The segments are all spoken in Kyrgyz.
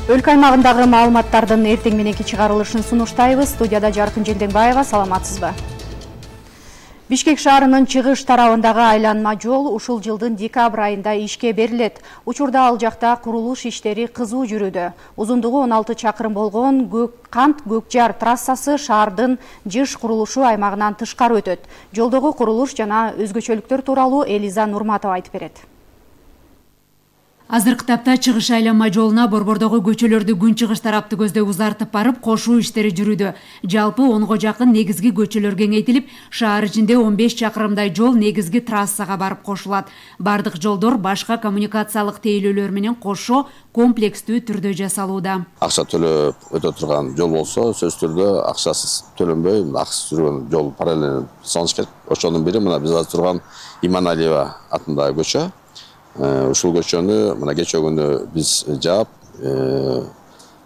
Өлкө аймагындагы маалыматтардын эртең мененки чыгарылышын сунуштайбыз. Студияда Жаркын Желденбаева, саламатсызбы? Бишкек шаарынын чыгыш тарабындагы айланма жол ушул жылдын декабрь айында ишке берилет. Учурда ал жакта курулуш иштери кызуу жүрүүдө. Узундугу 16 чакырым болгон Көк-Жар трассасы шаардын жыш курулушу аймагынан тышкары өтөт. Жолдогу курулуш жана өзгөчөлүктөр тууралуу Элиза Нурматова айтып берет. Азыркы тапта чыгыш айланма жолуна борбордогу көчөлөрдү күнчыгыш тарапты көздөй узартып барып, кошуу иштери жүрүүдө. Жалпы 10го жакын негизги көчөлөр кеңейтилип, шаар ичинде 15 чакырымдай жол негизги трассага барып кошулат. Бардык жолдор башка коммуникациялык тейлөөлөр менен кошо комплекстүү түрдө жасалууда. Акча төлөп өтө турган жол болсо, сөзсүз түрдө акчасыз төлөнбөй, акысыз жүргөн жол параллель салыш керек. Ошонун бири мына биз азыр турган Иманалиева атындагы көчө. Ушул көчөнү мына кечээ күнү биз жаап,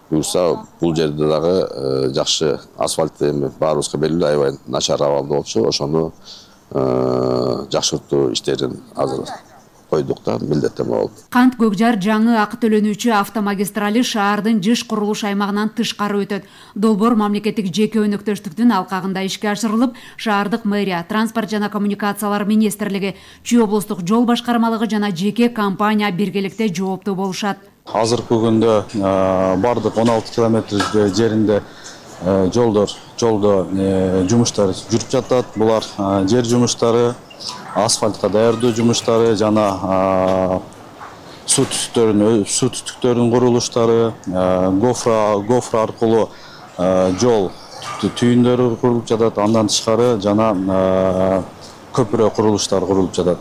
буюрса бул жерде дагы жакшы асфальт баарыбызга белгилүү аябай начар абалда болчу. Ошону жакшыртуу иштерин азыр койдук да, милдеттенме болду. Кант Көк-Жар жаңы акы төлөнүүчү автомагистрали шаардын жыш курулуш аймагынан тышкары өтөт. Долбоор мамлекеттик жеке өнөктөштүктүн алкагында ишке ашырылып, шаардык мэрия, транспорт жана коммуникациялар министрлиги, Чүй облустук жол башкармалыгы жана жеке компания биргеликте жооптуу болушат. Азыркы күндө бардык 16 километр жеринде жолдо жумуштар жүрүп жатат. Булар жер жумуштары, асфальтка даярдоо жумуштары жана суу түтүктөрүнүн курулуштары, гофра аркылуу жол түйүндөрү курулуп жатат. Андан тышкары жана көпүрө курулуштары курулуп жатат.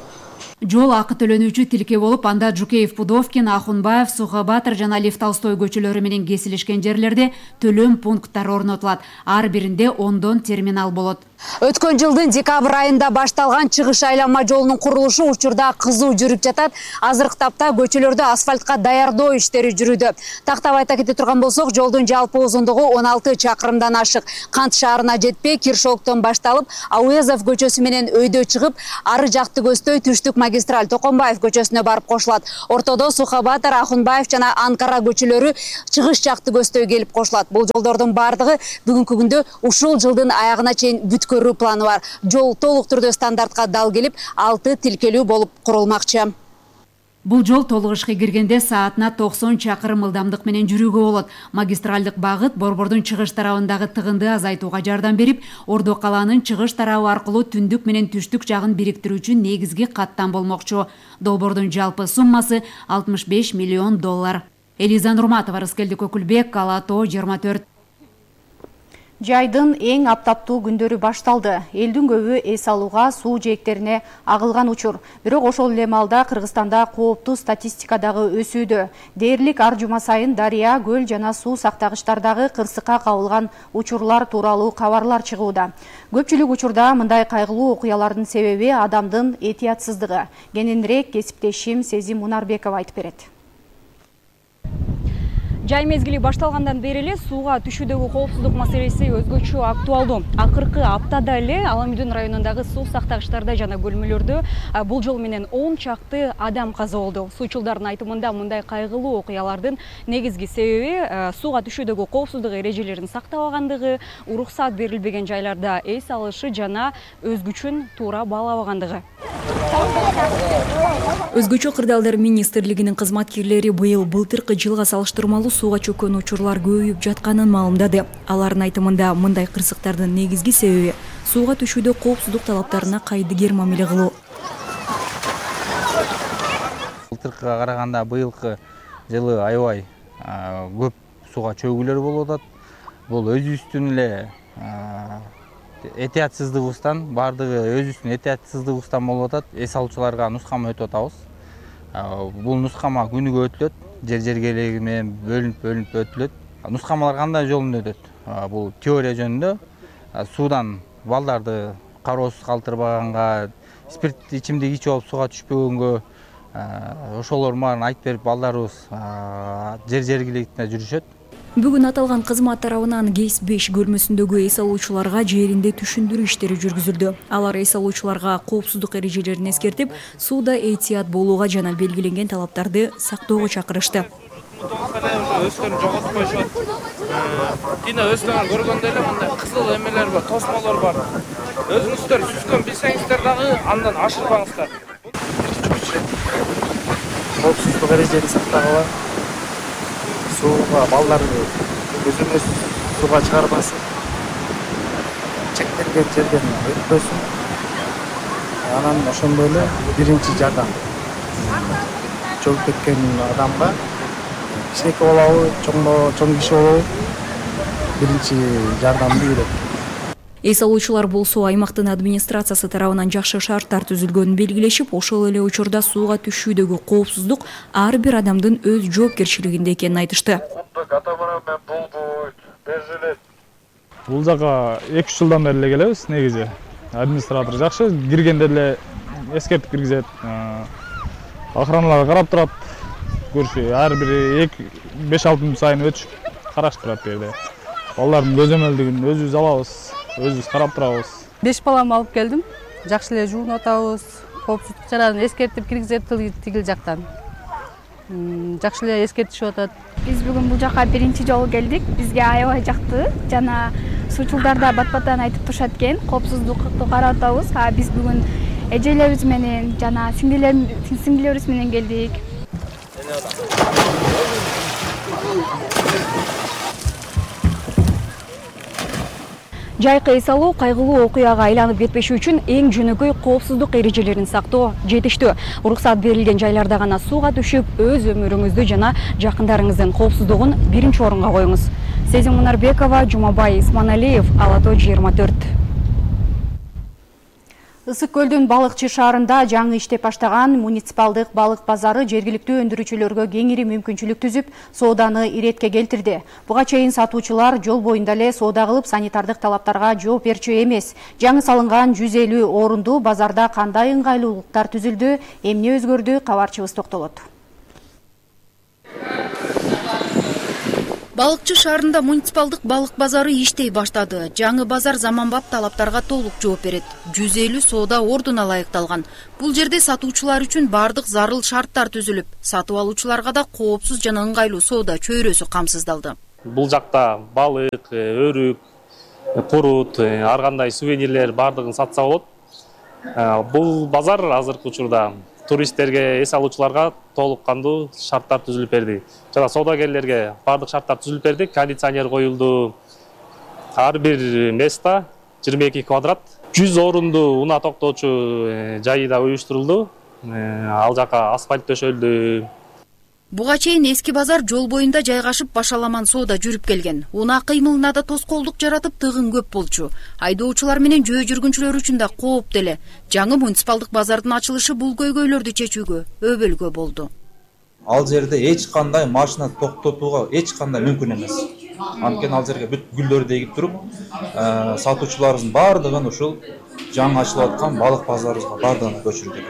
Жол акы төлөнүүчү тилке болуп, анда Жукеев, Пудовкин, Ахунбаев, Сухабатыр жана Лев Толстой көчөлөрү менен кесилишкен жерлерде төлөм пункттары орнотулат. Ар биринде 10 терминал болот. Өткөн жылдын декабрь айында башталган чыгыш айланма жолунун курулушу учурда кызуу жүрүп жатат. Азыркы тапта көчөлөрдө асфальтка даярдоо иштери жүрүүдө. Тактап айта кете турган болсок, жолдун жалпы узундугу 16 чакырымдан ашык. Кант шаарына жетпей, Киршоктон башталып, Ауезов көчөсү менен өйдө чыгып, ары жакты көздөй түштүк магистраль Токомбаев көчөсүнө барып кошулат. Ортодо Сухабатыр, Ахунбаев жана Анкара көчөлөрү чыгыш жакты көздөй келип кошулат. Бул жолдордун бардыгы бүгүнкү күндө ушул жылдын аягына чейин көрүү планы бар. Жол толук түрдө стандартка дал келип, 6 тилкелүү болуп курулмакчы. Бул жол толук ишке киргенде саатына 90 чакырым ылдамдык менен жүрүүгө болот. Магистралдык багыт борбордун чыгыш тарабындагы тыгынды азайтууга жардам берип, Ордо калаанын чыгыш тарабы аркылуу түндүк менен түштүк жагын бириктирүүчү негизги каттам болмокчу. Долбоордун жалпы суммасы $65 миллион. Элиза Нурматова, Рыскелди Көкүлбек, Алато 24. Жайдын эң аптаптуу күндөрү башталды. Элдин көбү эс алууга суу жээктерине агылган учур. Бирок ошол эле маалда Кыргызстанда кооптуу статистикадагы өсүүдө. Дээрлик ар жума сайын дарыя, көл жана суу сактагычтардагы кырсыкка кабылган учурлар тууралуу кабарлар чыгууда. Көпчүлүк учурда мындай кайгылуу окуялардын себеби адамдын этиятсыздыгы. Кененирээк кесиптешим Сезим Мунарбекова айтып берет. Жай мезгили башталгандан бери эле сууга түшүүдөгү коопсуздук маселеси өзгөчө актуалдуу. Акыркы аптада эле Аламүдүн районундагы суу сактагычтарда жана бөлмөлөрдө бул жол менен 10 чакты адам каза болду. Суучулдардын айтымында мындай кайгылуу окуялардын негизги себеби сууга түшүүдөгү коопсуздук эрежелерин сактабагандыгы, уруксат берилбеген жайларда эс алышы жана өзгүчүн туура баалабагандыгы. Өзгөчө кырдаалдар министрлигинин кызматкерлери быйыл былтыркы жылга салыштырмалуу сууга чөккөн учурлар көбөйүп жатканын маалымдады. Алардын айтымында мындай кырсыктардын негизги себеби сууга түшүүдө коопсуздук талаптарына кайдыгер мамиле кылуу. Былтыркыга караганда быйылкы жылы аябай көп сууга чөгүүлөр болуп атат. Бул өзүбүздүн эле этиятсыздыгыбыздан, бардыгы өзүбүздүн этиятсыздыгыбыздан болуп атат. Эс алуучуларга нускама өтүп атабыз. Бул нускама күнүгө өтүлөт, жер-жергелеги менен бөлүнүп өтүлөт. Нускамалар кандай жолунда өтөт? Бул теория жөнүндө суудан балдарды кароосуз калтырбаганга, спирт ичимдик ичип алып сууга түшпөгөнгө, ошолор баарын айтып берип балдарыбыз жер-жергиликте жүрүшөт. Бүгүн аталган кызмат тарабынан КЕС 5 бөлмөсүндөгү эс алуучуларга жеринде түшүндүрүү иштери жүргүзүлдү. Алар эс алуучуларга коопсуздук эрежелерин эскертип, сууда эhtiyat болууга жана белгиленген талаптарды сактоого чакырышты. Өздөрүн жоготпойшот. Тина өздөрүн көргөндө эле мындай кызыл эмелер бар, тосмолор бар. Өзүңүздөр сүзгөн билсеңиздер дагы андан ашырбаңыздар. Коопсуздук эрежени сактагыла. Сууга балдарды өзүмүз сууга чыгарбасын. Чектелген жерден өтпөсүн. Анан ошондой эле биринчи жардам. Чөгүп кеткен адамга кичинекей болобу, чоң киши болобу биринчи жардамды берет. Эс алуучулар болсо аймактын администрациясы тарабынан жакшы шарттар түзүлгөнүн белгилешип, ошол эле учурда сууга түшүүдөгү коопсуздук ар бир адамдын өз жоопкерчилигинде экенин айтышты. Бул жака 2-3 жылдан бери эле келебиз негизи. Администратор жакшы, киргенде эле эскертип киргизет. Охраналар карап турат. Көршү ар бири 5-6 мүнөт сайын өтүшүп карашып турат бу жерде. Балдардын көзөмөлдүгүн өзүбүз алабыз, өзүбүз карап турабыз. 5 баламды алып келдим. Жакшы эле жуунуп атабыз. Коопсуздук чараны эскертип киргизет тигил жактан. Жакшы эле эскертишип атат. Биз бүгүн бул жака биринчи жолу келдик. Бизге аябай жакты. Жана суучулдар да бат-баттан айтып турушат экен. Коопсуздукту карап атабыз. Биз бүгүн эжелерибиз менен жана сиңдилерибиз менен келдик. Жайкы эс алуу кайгылуу окуяга айланып кетпеши үчүн эң жөнөкөй коопсуздук эрежелерин сактоо жетиштүү. Уруксат берилген жайларда гана сууга түшүп, өз өмүрүңүздү жана жакындарыңыздын коопсуздугун биринчи орунга коюңуз. Сезим Мунарбекова, Жумабай Исманалиев, Ала Тоо 24. Ысык көлдүн Балыкчы шаарында жаңы иштеп баштаган муниципалдык балык базары жергиликтүү өндүрүүчүлөргө кеңири мүмкүнчүлүк түзүп, сооданы иретке келтирди. Буга чейин сатуучулар жол боюнда эле соода кылып, санитардык талаптарга жооп берчү эмес. Жаңы салынган 150 орунду базарда кандай ыңгайлуулуктар түзүлдү, эмне өзгөрдү, кабарчыбыз токтолот. Балыкчы шаарында муниципалдык балык базары иштей баштады. Жаңы базар заманбап талаптарга толук жооп берет. 150 соода ордуна ылайыкталган. Бул жерде сатуучулар үчүн бардык зарыл шарттар түзүлүп, сатып алуучуларга да коопсуз жана ыңгайлуу соода чөйрөсү камсыздалды. Бул жакта балык, өрүк, курут, ар кандай сувенирлер бардыгын сатса болот. Бул базар азыркы учурда туристтерге, эс алуучуларга толук кандуу шарттар түзүлүп берди. Жана соодагерлерге бардык шарттар түзүлүп берди. Кондиционер коюлду. Ар бир места 22 квадрат. 100 орунду унаа токтоочу жайы да уюштурулду. Ал жака асфальт төшөлдү. Буга чейин эски базар жол боюнда жайгашып башаламан соода жүрүп келген. Унаа кыймылына да тоскоолдук жаратып тыгын көп болчу. Айдоочулар менен жөө жүргүнчүлөр үчүн да кооптуу эле. Жаңы муниципалдык базардын ачылышы бул көйгөйлөрдү чечүүгө өбөлгө болду. Ал жерде эч кандай машина токтотууга эч кандай мүмкүн эмес. Анткени ал жерге бүт гүлдөрдү эгип туруп, сатуучуларыбыздын бардыгын ушул жаңы ачылып аткан балык базарыбызга бардыгын көчүрдүк.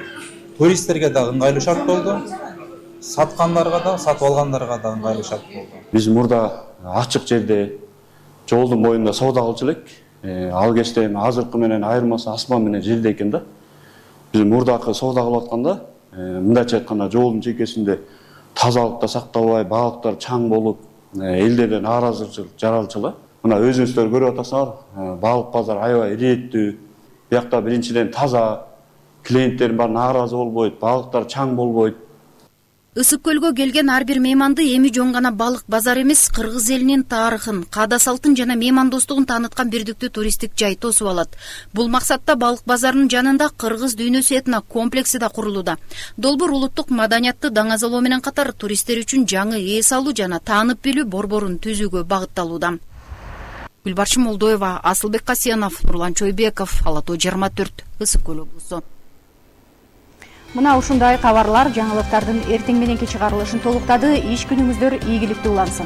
Туристтерге да ыңгайлуу шарт болду. Саткандарга да, сатып алгандарга да ыңгайлуу шарт болду. Биз мурда ачык жерде, жолдун боюнда соода кылчу элек. Ал кечте эми азыркы менен айырмасы асман менен жерде экен да. Биз мурдакы соода кылып атканда, мындайча айтканда жолдун чекесинде тазалыкта сакталбай, балыктар чаң болуп, элдерден нааразычылык жаралчу эле. Мына өзүңүздөр көрүп атасыңар, балык базар аябай ирээттүү. Биякта биринчиден таза, клиенттер бар нааразы болбойт, балыктар чаң болбойт. Ысык көлгө келген ар бир мейманды эми жөн гана балык базар эмес, кыргыз элинин тарыхын, каада салтын жана меймандостугун тааныткан бирдиктүү туристтик жай тосуп алат. Бул максатта балык базарынын жанында кыргыз дүйнөсү этно комплекси да курулууда. Долбоор улуттук маданиятты даңазалоо менен катар туристтер үчүн жаңы эс алуу жана таанып билүү борборун түзүүгө багытталууда. Гүлбарчын Молдоева, Асылбек Касьянов, Нурлан Чойбеков, Ала Тоо 24, Ысык көл облусу. Мына ушундай кабарлар жаңылыктардын эртең мененки чыгарылышын толуктады. Иш күнүңүздөр ийгиликтүү улансын.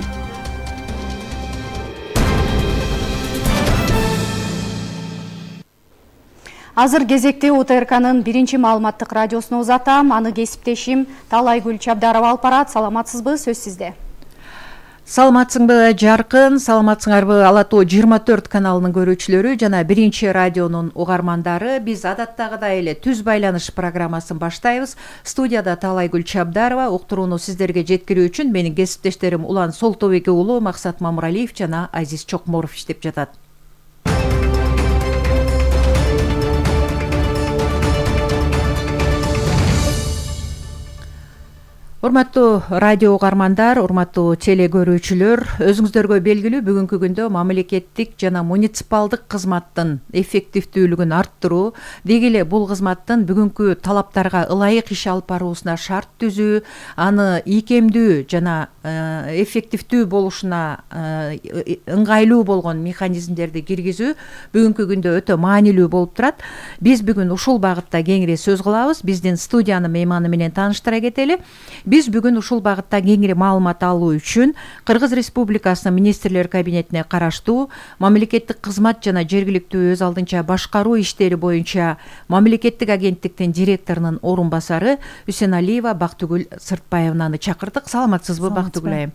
Азыр кезекте УТРКнын биринчи маалыматтык радиосуна узатам. Аны кесиптешим Талайгүл Чабдарова алып барат. Саламатсызбы? Сөз сизде. Саламатсыңбы жаркын, саламатсыңарбы Ала Тоо 24 каналынын көрүүчүлөрү жана 1 радионун угармандары. Биз адаттагыдай эле түз байланыш программасын баштайбыз. Студияда Таалайгүл Чабдарова, уктурууну сиздерге жеткирүү үчүн менин кесиптештерим Улан Солтобеки уулу, Максат Мамыралиев жана Азиз Чокморов иштеп жатат. Урматтуу радио угармандар, урматтуу теле көрүүчүлөр, өзүңүздөргө белгилүү бүгүнкү күндө мамлекеттик жана муниципалдык кызматтын эффективдүүлүгүн арттыруу, деги эле бул кызматтын бүгүнкү талаптарга ылайык иш алып баруусуна шарт түзүү, аны ийкемдүү жана эффективдүү болушуна ыңгайлуу болгон механизмдерди киргизүү бүгүнкү күндө өтө маанилүү болуп турат. Биз бүгүн ушул багытта кеңири сөз кылабыз. Биздин студиянын мейманы менен тааныштыра кетели. Биз бүгүн ушул багытта кеңири маалымат алуу үчүн Кыргыз Республикасынын министрлер кабинетине караштуу мамлекеттик кызмат жана жергиликтүү өз алдынча башкаруу иштери боюнча мамлекеттик агенттиктин директорунун орун басары Үсеналиева Бактыгүл Сыртбаевнаны чакырдык. Саламатсызбы, Бактыгүл айым?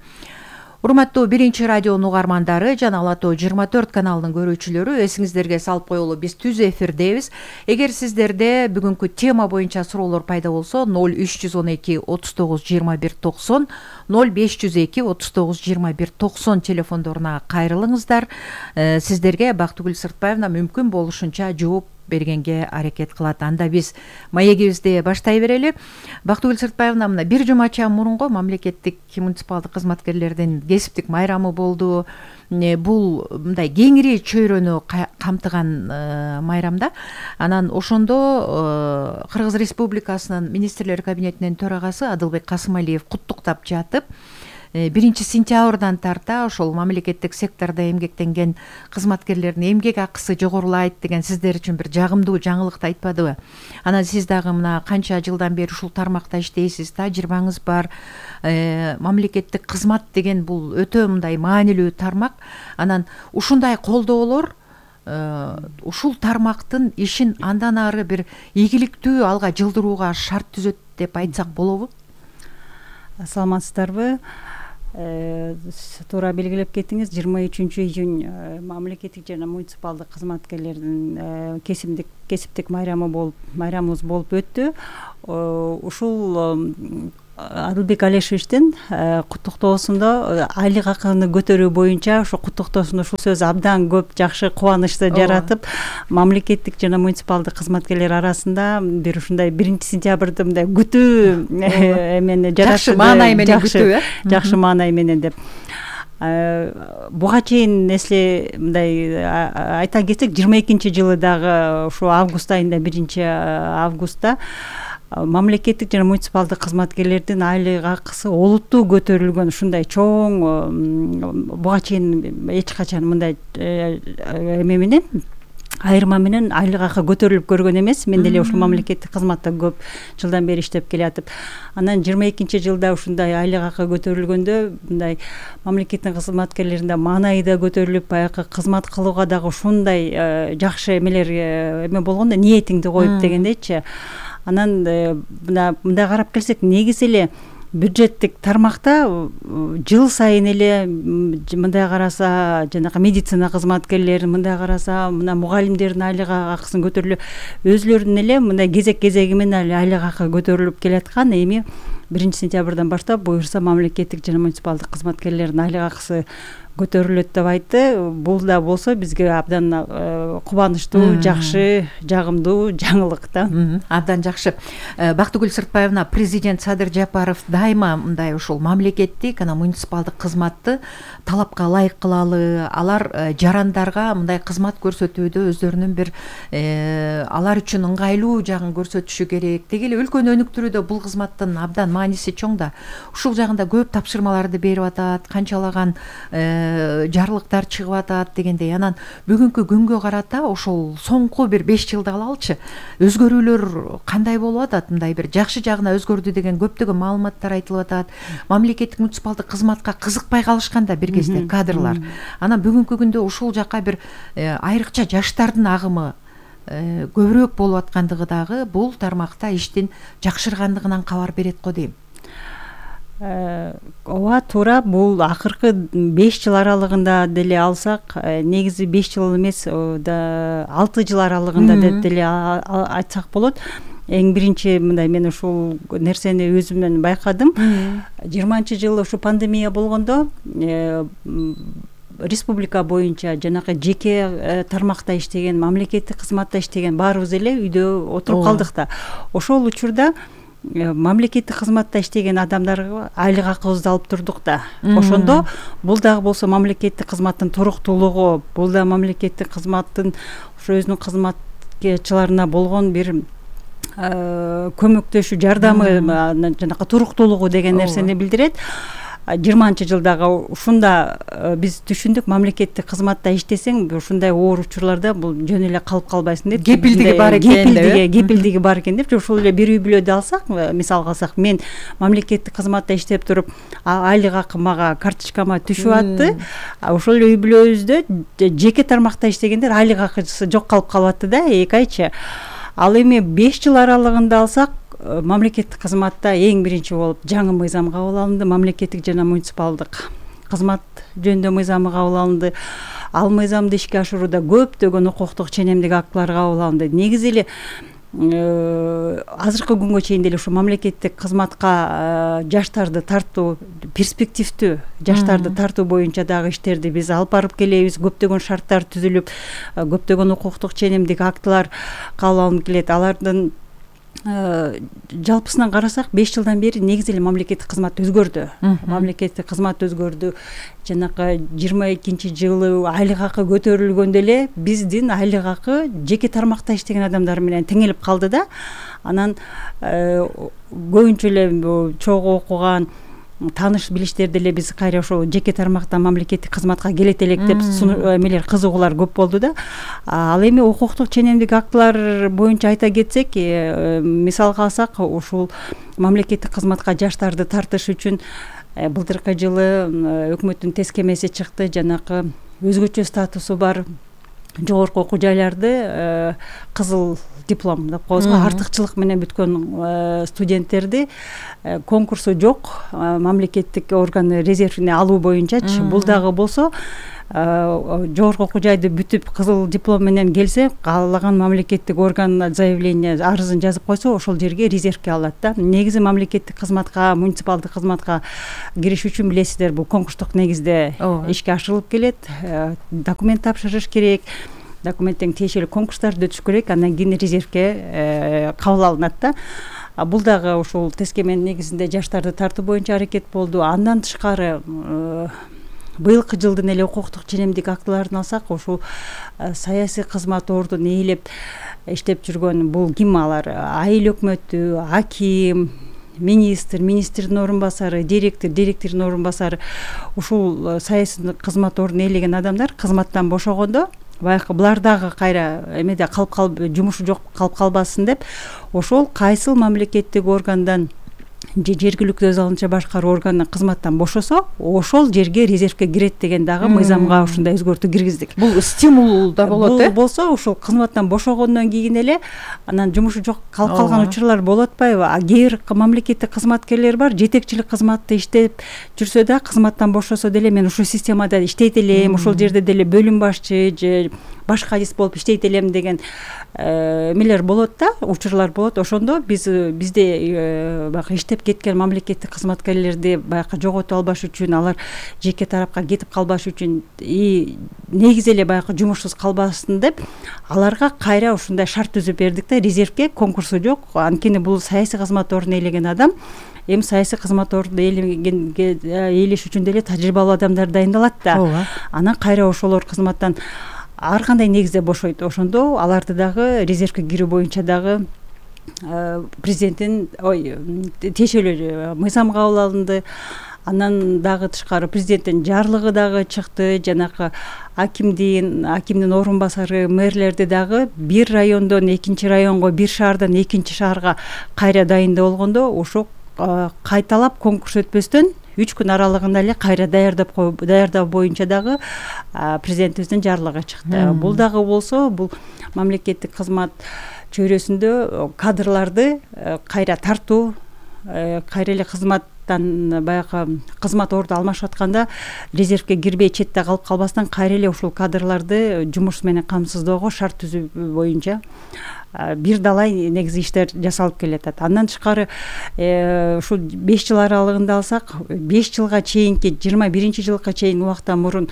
Урматтуу 1 радионун угармандары жана Ала Тоо 24 каналынын көрүүчүлөрү, эсиңиздерге салып коелу, биз түз эфирдебиз. Эгер сиздерде бүгүнкү тема боюнча суроолор пайда болсо 0312 39 21 90, 0502 39 21 90 телефондоруна кайрылыңыздар. Сиздерге Бактыгүл Сыртбаевна мүмкүн болушунча жооп бергенге аракет кылат. Анда биз маегибизди баштай берели. Бактыгүл Сыртбаевна, мына бир жумача мурунку мамлекеттик муниципалдык кызматкерлердин кесиптик майрамы болду. Бул мындай кеңири чөйрөнү камтыган майрамда. Анан ошондо Кыргыз Республикасынын министрлер кабинетинин төрагасы Адылбек Касымалиев куттуктап жатып, 1 сентябрдан тарта ошол мамлекеттик сектордо эмгектенген кызматкерлердин эмгек акысы жогорулайт деген сиздер үчүн бир жагымдуу жаңылыкты айтпадыбы? Анан сиз дагы мына канча жылдан бери ушул тармакта иштейсиз, тажрыйбаңыз бар. Мамлекеттик кызмат деген бул өтө мындай маанилүү тармак. Анан ушундай колдоолор ушул тармактын ишин андан ары бир ийгиликтүү алга жылдырууга шарт түзөт деп айтсак болобу? Саламатсыздарбы? Туура белгилеп кеттиңиз, 23 июнь мамлекеттик жана муниципалдык кызматкерлердин кесиптик майрамыбыз болуп өттү. Ушул Адылбек Алешевичтин куттуктоосунда айлык акыны көтөрүү боюнча ошо куттуктоосунда ушул сөз абдан көп жакшы кубанычты жаратып, мамлекеттик жана муниципалдык кызматкерлер арасында бир ушундай 1 сентябрды мындай күтүү эмени жаратты. Жакшы маанай менен күтүү, жакшы маанай менен деп. Буга чейин эсле мындай айта кетсек, 22-жылы дагы ушу август айында 1 августта мамлекеттик жана муниципалдык кызматкерлердин айлык акысы олуттуу көтөрүлгөн, ушундай чоң буга чейин эч качан мындай эме менен айырма менен айлык акы көтөрүлүп көргөн эмес. Мен деле ушул мамлекеттик кызматта көп жылдан бери иштеп келатып, анан 22-жылда ушундай айлык акы көтөрүлгөндө мындай мамлекеттик кызматкерлеринде маанайы да көтөрүлүп, баягы кызмат кылууга дагы ушундай жакшы эмелер эме болгондо, ниетиңди коюп дегендейчи. Анан мындай карап келсек, негизи эле бюджеттик тармакта жыл сайын эле мындай караса, жанагы медицина кызматкерлерин, мындай караса, мына мугалимдердин айлык акысын көтөрүлүп, өзүлөрүнүн эле мындай кезек-кезеги менен айлык акы көтөрүлүп келаткан. Эми 1 сентябрдан баштап буюрса мамлекеттик жана муниципалдык кызматкерлердин айлык акысы көтөрүлөт деп айтты. Бул да болсо бизге абдан кубанычтуу, жакшы, жагымдуу жаңылык да. Абдан жакшы. Бактыгүл Сыртбаевна, президент Садыр Жапаров дайыма мындай ушул мамлекеттик, анан муниципалдык кызматты талапка ылайык кылалы, алар жарандарга мындай кызмат көрсөтүүдө өздөрүнүн бир алар үчүн ыңгайлуу жагын көрсөтүшү керек. Деги эле өлкөнү өнүктүрүүдө бул кызматтын абдан мааниси чоң да. Ушул жагында көп тапшырмаларды берип атат, канчалаган жарлыктар чыгып атат дегендей. Анан бүгүнкү күнгө карата ошол соңку бир 5 жылды алалычы. Өзгөрүүлөр кандай болуп атат? Мындай бир жакшы жагына өзгөрдү деген көптөгөн маалыматтар айтылып атат. Мамлекеттик муниципалдык кызматка кызыкпай калышканда бир кезде кадрлар. Анан бүгүнкү күндө ушул жака бир айрыкча жаштардын агымы көбүрөөк болуп аткандыгы дагы бул тармакта иштин жакшыргандыгынан кабар берет го дейм. ооба туура, бул акыркы 5 жыл аралыгында деле алсак, негизи 5 жыл эмес, 6 жыл аралыгында деле айтсак болот. Эң биринчи мындай мен ушул нерсени өзүмөн байкадым. 20-жылы ушу пандемия болгондо республика боюнча жанагы жеке тармакта иштеген, мамлекеттик кызматта иштеген баарыбыз эле үйдө отуруп калдык да. Ошол учурда мамлекеттик кызматта иштеген адамдарга айлык акыбызды алып турдук да. Ошондо бул дагы болсо мамлекеттик кызматтын туруктуулугу, бул да мамлекеттик кызматтын ошо өзүнүн кызматкерлерине болгон бир көмөктөшүү, жардамы, жанагы туруктуулугу деген нерсени билдирет. 20-жылдагы ушунда биз түшүндүк, мамлекеттик кызматта иштесең ушундай оор учурларда бул жөн эле калып калбайсың деп. Кепилдиги бар экен. Кепилдиги бар экен деп. Ошол эле бир үй бүлөдө алсак, мисалга алсак, мен мамлекеттик кызматта иштеп туруп, айлык акы мага карточкама түшүп атты. Ошол эле үй бүлөбүздө жеке тармакта иштегендер айлык акысы жок калып калып атты да, 2 айчы. Ал эми 5 жыл аралыгында алсак, мамлекеттик кызматта эң биринчи болуп жаңы мыйзам кабыл алынды, мамлекеттик жана муниципалдык кызмат жөнүндө мыйзамы кабыл алынды. Ал мыйзамды ишке ашырууда көптөгөн укуктук ченемдик актылар кабыл алынды. Негизи эле азыркы күнгө чейин деле ушу мамлекеттик кызматка жаштарды тартуу, перспективдүү жаштарды тартуу боюнча дагы иштерди биз алып барып келебиз. Көптөгөн шарттар түзүлүп, көптөгөн укуктук ченемдик актылар кабыл алынып келет. Алардын жалпысынан карасак 5 жылдан бери негизи эле мамлекеттик кызмат өзгөрдү. Мамлекеттик кызмат өзгөрдү. Жанагы 22-жылы айлык акы көтөрүлгөндө эле биздин айлык акы жеке тармакта иштеген адамдар менен теңелип калды да. Анан көбүнчө эле чогуу окуган тааныш билиштерди эле биз кайра ошо жеке тармактан мамлекеттик кызматка келет элек деп эмелер, кызыгуулар көп болду да. Ал эми укуктук ченемдик актылар боюнча айта кетсек, мисалга алсак, ушул мамлекеттик кызматка жаштарды тартыш үчүн былтыркы жылы өкмөттүн тескемеси чыкты. Жанагы өзгөчө статусу бар жогорку окуу жайларды кызыл диплом деп коебузго, артыкчылык менен бүткөн студенттерди конкурсу жок мамлекеттик органы резервине алуу боюнчачы. Бул дагы болсо жогорку окуу жайды бүтүп кызыл диплом менен келсе, каалаган мамлекеттик орган заявление, арызын жазып койсо, ошол жерге резервке алат да. Негизи мамлекеттик кызматка, муниципалдык кызматка кириш үчүн билесиздер, бул конкурстук негизде ишке ашырылып келет. Документ тапшырыш керек, документтен тиешелүү конкурстарды өтүш керек, андан кийин резервке кабыл алынат да. Бул дагы ушул тескеменин негизинде жаштарды тартуу боюнча аракет болду. Андан тышкары быйылкы жылдын эле укуктук ченемдик актыларын алсак, ушул саясий кызмат ордун ээлеп иштеп жүргөн бул ким алар? Айыл өкмөтү, аким, министр, министрдин орун басары, директор, директордун орун басары, ушул саясий кызмат ордун ээлеген адамдар кызматтан бошогондо баягы булар дагы кайра эмеде калып жумушу жок калып калбасын деп, ошол кайсыл мамлекеттик органдан же жергиликтүү өз алынча башкаруу органынан кызматтан бошосо, ошол жерге резервке кирет деген дагы мыйзамга ушундай өзгөртүү киргиздик. Бул стимул да болот, Бул болсо ушул кызматтан бошогондон кийин эле анан жумушу жок калып калган учурлар болуп атпайбы? Кээ бир мамлекеттик кызматкерлер бар, жетекчилик кызматты иштеп жүрсө да кызматтан бошосо деле мен ушул системада иштейт элем, ушул жерде деле бөлүм башчы же башка адис болуп иштейт элем деген эмелер болот да, учурлар болот. Ошондо бизде баягы иштеп кеткен мамлекеттик кызматкерлерди баягы жоготуп албаш үчүн, алар жеке тарапка кетип калбаш үчүн, негизи эле баягы жумушсуз калбасын деп, аларга кайра ушундай шарт түзүп бердик да, резервке конкурсу жок. Анткени бул саясий кызмат ордун ээлеген адам, эми саясий кызмат ордун ээлеш үчүн деле тажрыйбалуу адамдар дайындалат да. Анан кайра ошолор кызматтан ар кандай негизде бошойт. Ошондо аларды дагы резервке кирүү боюнча дагы президенттин тиешелүү мыйзам кабыл алынды. Андан дагы тышкары президенттин жарлыгы дагы чыкты. Жанагы акимдин орун басары, мэрлерди дагы бир райондон экинчи районго, бир шаардан экинчи шаарга кайра дайындоо болгондо, ошо кайталап конкурс өтпөстөн 3 күн аралыгында эле кайра даярдоо боюнча дагы президентибиздин жарлыгы чыкты. Бул дагы болсо, бул мамлекеттик кызмат чөйрөсүндө кадрларды кайра тартуу, кайра эле кызмат резервтан баягы кызмат орду алмашып атканда резервке кирбей четте калып калбастан кайра эле ушул кадрларды жумуш менен камсыздоого шарт түзүү боюнча бир далай негизи иштер жасалып келатат. Андан тышкары ушул 5 жыл аралыгында алсак, 5 жылга чейинки 21-жылга чейин убакыттан мурун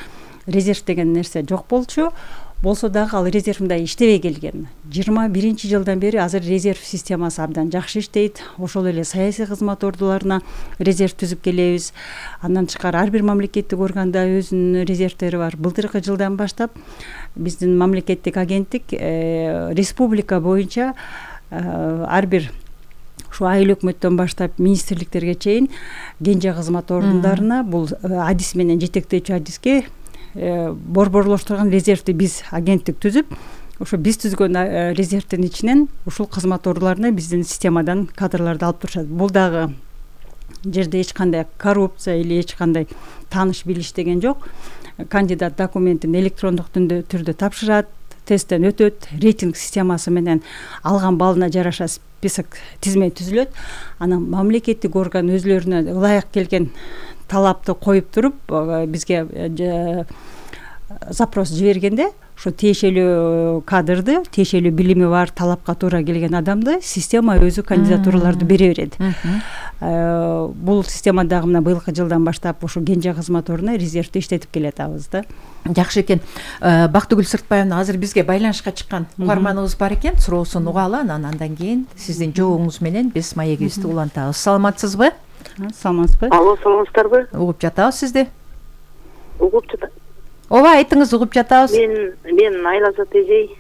резерв деген нерсе жок болчу. Болсо дагы ал резерв мындай иштебей келген. 21-жылдан бери азыр резерв системасы абдан жакшы иштейт. Ошол эле саясий кызмат ордуларына резерв түзүп келебиз. Андан тышкары ар бир мамлекеттик органда өзүнүн резервтери бар. Былтыркы жылдан баштап биздин мамлекеттик агенттик республика боюнча ар бир ушу айыл өкмөттөн баштап министрликтерге чейин кенже кызмат ордундарына бул адис менен жетектөөчү адиске борборлоштурган резервди биз агенттик түзүп, ошо биз түзгөн резервдин ичинен ушул кызмат ордуларына биздин системадан кадрларды алып турушат. Бул дагы жерде эч кандай коррупция или эч кандай тааныш билиш деген жок. Кандидат документин электрондук түрдө тапшырат, тесттен өтөт, рейтинг системасы менен алган балына жараша список тизме түзүлөт. Анан мамлекеттик орган өзлөрүнө ылайык келген талапты коюп туруп бизге запрос жибергенде ошо тиешелүү кадрды, тиешелүү билими бар, талапка туура келген адамды система өзү кандидатураларды бере берет. Бул система дагы мына быйылкы жылдан баштап ушу кенже кызмат ордуна резервди иштетип келатабыз да. Жакшы экен. Бактыгүл Сыртбаевна, азыр бизге байланышка чыккан угарманыбыз бар экен. Суроосун угалы, андан кийин сиздин жообуңуз менен биз маегибизди улантабыз. Саламатсызбы? Саламатсызбы? Алло, саламатсыздарбы? Угуп жатабыз сизди. Угуп жатат. Ооба, айтыңыз, угуп жатабыз. Мен Айлазат эжей,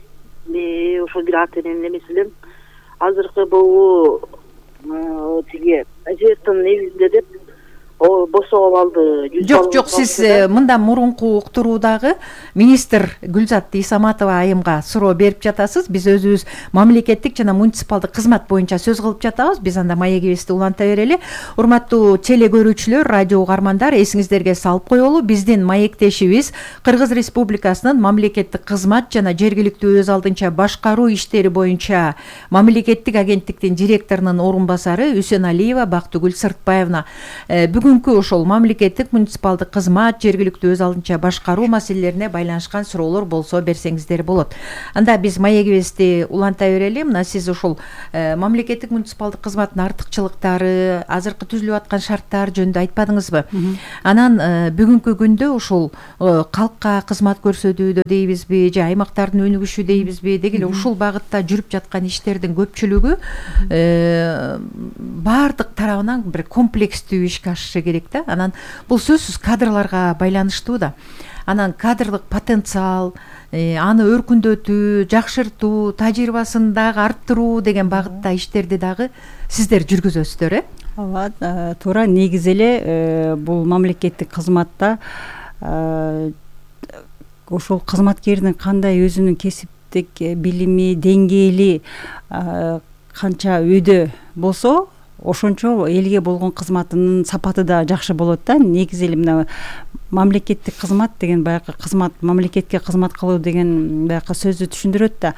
ошол бир ата эненин эмеси элем. Азыркы бул тиги резервдин негизинде деп босоп алды. Жок, сиз мындан мурунку уктуруудагы министр Гүлзат Исаматова айымга суроо берип жатасыз. Биз өзүбүз мамлекеттик жана муниципалдык кызмат боюнча сөз кылып жатабыз. Биз анда маегибизди уланта берели. Урматтуу теле көрүүчүлөр, радио угармандар, эсиңиздерге салып коелу, биздин маектешибиз Кыргыз Республикасынын мамлекеттик кызмат жана жергиликтүү өз алдынча башкаруу иштери боюнча мамлекеттик агенттиктин директорунун орун басары Үсеналиева Бактыгүл Сыртбаевна бүгүнкү ошол мамлекеттик муниципалдык кызмат, жергиликтүү өз алдынча башкаруу маселелерине байланышкан суроолор болсо берсеңиздер болот. Анда биз маегибизди уланта берели. Мына сиз ушул мамлекеттик муниципалдык кызматтын артыкчылыктары, азыркы түзүлүп аткан шарттар жөнүндө айтпадыңызбы? Анан бүгүнкү күндө ушул калкка кызмат көрсөтүүдө дейбизби, же аймактардын өнүгүшү дейбизби, деги эле ушул багытта жүрүп жаткан иштердин көпчүлүгү баардык тарабынан бир комплекстүү ишке ашышы керек да. Анан бул сөзсүз кадрларга байланыштуу да. Анан кадрлык потенциал, аны өркүндөтүү, жакшыртуу, тажрыйбасын дагы арттыруу деген багытта иштерди дагы сиздер жүргүзөсүздөр, Ооба, туура. Негизи эле бул мамлекеттик кызматта ошол кызматкердин кандай өзүнүн кесиптик билими, деңгээли канча өйдө болсо, ошончо элге болгон кызматынын сапаты да жакшы болот да. Негизи эле мына мамлекеттик кызмат деген баягы кызмат, мамлекетке кызмат кылуу деген баягы сөздү түшүндүрөт да.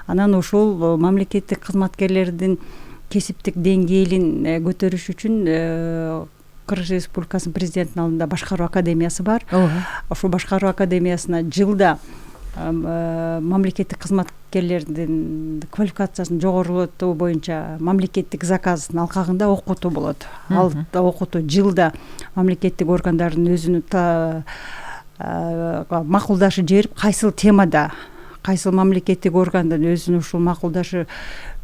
Анан ушул мамлекеттик кызматкерлердин кесиптик деңгээлин көтөрүш үчүн Кыргыз Республикасынын президентинин алдында башкаруу академиясы бар. Ошол башкаруу академиясына жылда мамлекеттик кызматкерлердин квалификациясын жогорулатуу боюнча мамлекеттик заказдын алкагында окутуу болот. Ал окутуу жылда мамлекеттик органдардын өзүнүн макулдашы жиберип, кайсыл темада, кайсыл мамлекеттик органдын өзүнүн ушул макулдашы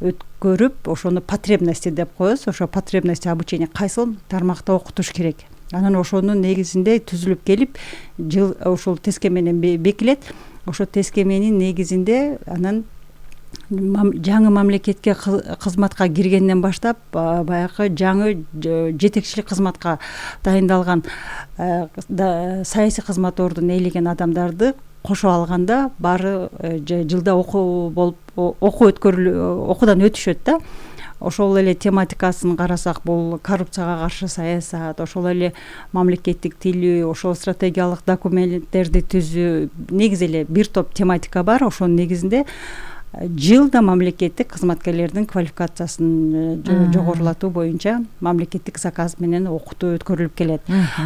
өткөрүп, ошону потребности деп коебуз. Ошо потребности обучения кайсыл тармакта окутуш керек. Анан ошонун негизинде түзүлүп келип, жыл ошол теске менен бекилет. Ошо тескеменин негизинде анан жаңы мамлекетке кызматка киргенден баштап баягы жаңы жетекчилик кызматка дайындалган саясий кызмат ордун ээлеген адамдарды кошо алганда баары жылда окуудан өтүшөт да. Ошол эле тематикасын карасак, бул коррупцияга каршы саясат, ошол эле мамлекеттик тил, ошол стратегиялык документтерди түзүү, негизи эле бир топ тематика бар. Ошонун негизинде жылда мамлекеттик кызматкерлердин квалификациясын жогорулатуу боюнча мамлекеттик заказ менен окутуу өткөрүлүп келет.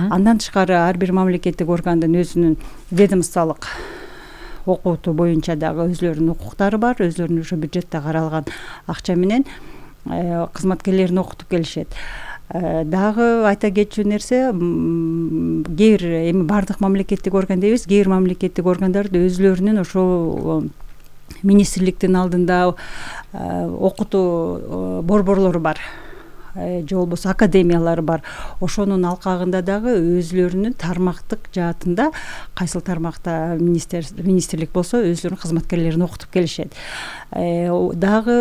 Андан тышкары ар бир мамлекеттик органдын өзүнүн ведомстволук окутуу боюнча дагы өзлөрүнүн укуктары бар, өзлөрүнүн ошо бюджетте каралган акча менен кызматкерлерин окутуп келишет. Дагы айта кетчү нерсе, кээ бир эми бардык мамлекеттик орган дейбиз, кээ бир мамлекеттик органдарда өзлөрүнүн ошол министрликтин алдында окутуу борборлору бар, же болбосо академиялары бар. Ошонун алкагында дагы өзлөрүнүн тармактык жаатында кайсыл тармакта министрлик болсо өзлөрүнүн кызматкерлерин окутуп келишет. Дагы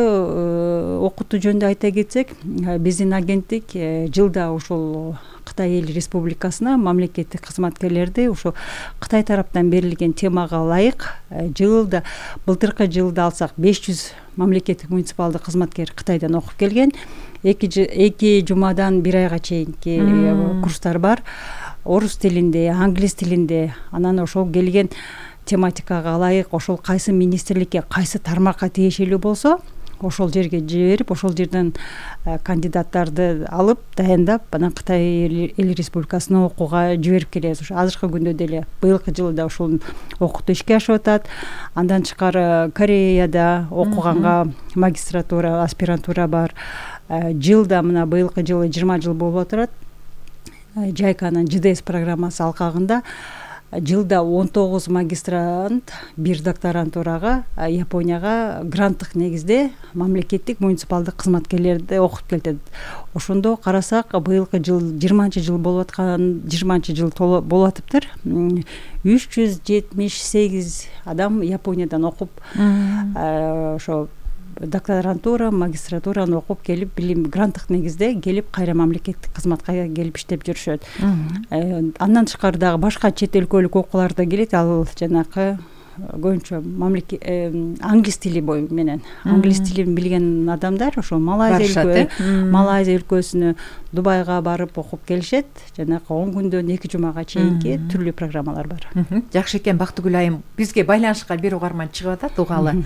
окутуу жөнүндө айта кетсек, биздин агенттик жылда ушул Кытай эл республикасына мамлекеттик кызматкерлерди ушул Кытай тараптан берилген темага ылайык жылда, былтыркы жылда алсак 500 мамлекеттик муниципалдык кызматкер Кытайдан окуп келген. 2 жумадан 1 айга чейинки курстар бар. Орус тилинде, англис тилинде. Анан ошол келген тематикага ылайык ошол кайсы министрликке, кайсы тармакка тиешелүү болсо, ошол жерге жиберип, ошол жерден кандидаттарды алып, дайындап, анан Кытай эл республикасына окууга жиберип келебиз. Ошо азыркы күндө деле быйылкы жылда ошол окутуу ишке ашып атат. Андан тышкары Кореяда окуганга магистратура, аспирантура бар. Жылда мына быйылкы жылы 20 жыл болуп отурат. Жайканын ЖДС программасы алкагында жылда 19 магистрант, 1 докторантурага Японияга гранттык негизде мамлекеттик муниципалдык кызматкерлерди окутуп келет. Ошондо карасак, быйылкы жыл 20-жыл болуп аткан, 20-жыл болуп атыптыр. 378 адам Япониядан окуп, ошо докторантура, магистратураны окуп келип, билим гранттык негизде келип, кайра мамлекеттик кызматка келип иштеп жүрүшөт. Андан тышкары дагы башка чет өлкөлүк окуулар да келет. Ал жанакы көбүнчө англис тили менен, англис тилин билген адамдар ошо Малайзия өлкөсүнө, Дубайга барып окуп келишет. Жанакы 10 күндөн 2 жумага чейинки түрлүү программалар бар. Жакшы экен, Бактыгүл айым. Бизге байланышка бир угарман чыгып атат, угалы.